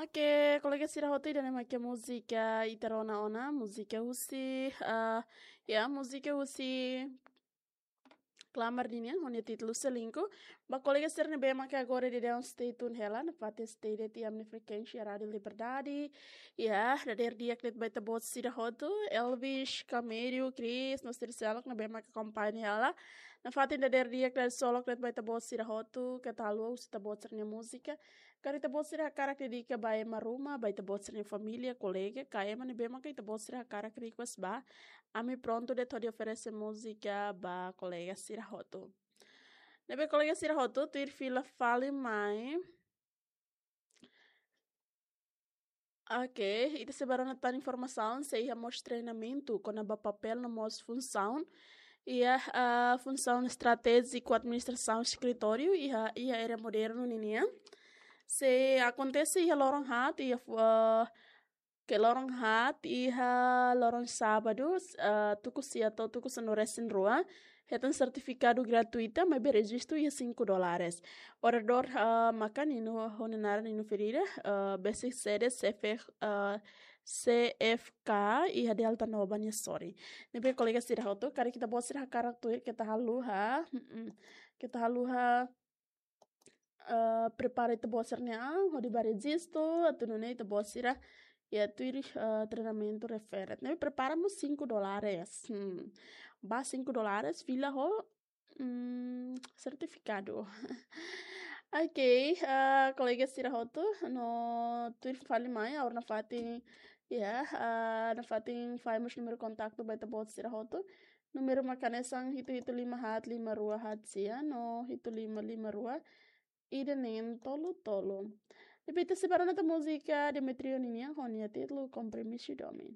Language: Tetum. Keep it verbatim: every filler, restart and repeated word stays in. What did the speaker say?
Oke, kolega sira hotu, ida-ne'e mak múzika ita rona ona, múzika husi, ah, ya, múzika husi Klamar ninian, ho nia títulu Selingkuh. Ba kolega sira ne'ebé mak agora daudaun stay tune hela, nafatin stay de'it iha ami-nia frekuénsia Rádiu Liberdade. Ya, dadeer di'ak de'it ba ita-boot sira hotu, Elvis, Camério, Chris, no sira seluk ne'ebé mak akompaña hela. Nafatin dadeer di'ak, dadeer solok de'it ba ita-boot sira hotu, keta haluha husu ita-boot sira-nia múzika. Karik ita-boot sira hakarak dedika ba ema ruma, ba ita-boot sira-nia família, kolega, ka ema ne'ebé maka ita-boot sira hakarak request ba, ami prontu de'it hodi oferese múzika ba kolega sira hotu. Ne'ebé kolega sira hotu, tuir fila fali mai. Oke, ita sei bá rona tan informasaun, sei iha mós treinamentu kona-ba papél no mós funsaun iha, ah, funsaun estratéjiku administrasaun eskritóriu iha, iha área modernu ninian. Sei akontese iha loron haat, iha fu-, ah, ke loron haat, iha loron sábadu, ah, tuku sia to'o tuku sanulu-resin-rua. Hetan sertifikadu gratuita, maibé rejistu iha cinco dólares. Oradór, ah, maka Nino, ho nia naran Nino Ferreira, ah, besik sede C F, ah, C F K iha Delta Nova nia sorin. Ne'ebé kolega sira hotu, karik ita-boot sira hakarak tuir, keta haluha, mm, keta haluha, ah, prepara ita-boot sira-nia an hodi bá rejistu, atu nune'e ita-boot sira, ya, tuir, ah, treinamentu refere. Ne'ebé prepara mós cinco dólares. Hmm. Ba cinco dólares, fila ho, mm, sertifikadu. Oke, ah, kolega sira hotu, no tuir fali mai, agora nafatin, ya, ah, nafatin fahe mós númeru kontaktu ba ita-boot sira hotu. Númeru mak hanesan hitu hitu lima haat lima rua haat sia, no hitu lima lima rua ida neen tolu tolu. Depois ita sei bá rona tan múzika Demetrio ninian, ho nia títulu Kompromisu Domin.